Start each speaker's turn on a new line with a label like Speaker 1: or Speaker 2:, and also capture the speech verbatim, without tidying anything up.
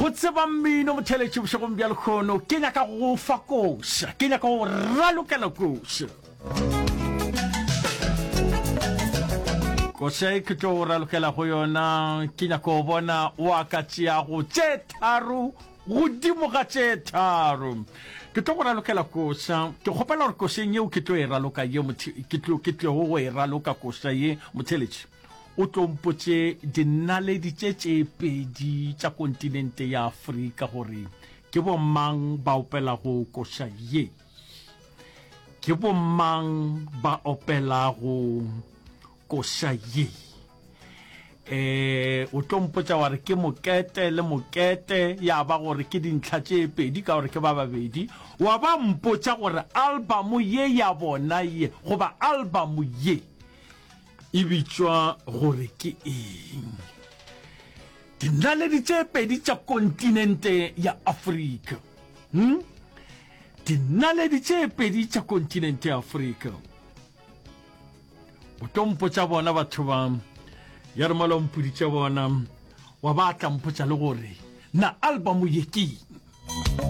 Speaker 1: Go tseba mmino motheletši bošegong bja lekgono, ke nyaka go fa koša, ke nyaka go ralokela koša. Koša e ke tlo go ralokela go yona, ke nyaka go bona wa ka tšeago tše tharo godimo ga tše tharo. Ke tlo go ralokela koša, ke kgopela gore košeng yeo ke tlo e raloka ye, ke tlo ke tlogo go e raloka koša ye motheletši. O tlo mpotše dinaledi tše tše pedi tša kontinente ya Afrika gore ke bomang ba opelago koša ye. Ke bomang ba opelago koša ye? E, o tlo mpotša wa re ke mokete le mokete, ya ba gore ke dintlha tše pedi ka gore ke ba babedi. Wa ba mpotša gore albamo ye ya bona ye goba albamo ye e bitšwa gore ke eng? Dinaledi tše pedi tša kontinente ya Afrika. Hmm? Dinaledi tše pedi tša kontinente ya Afrika. O tlo mpotša bona batho ba, ya re mola o mpoditše bona, wa ba tla mpotša le gore na album ye ke eng?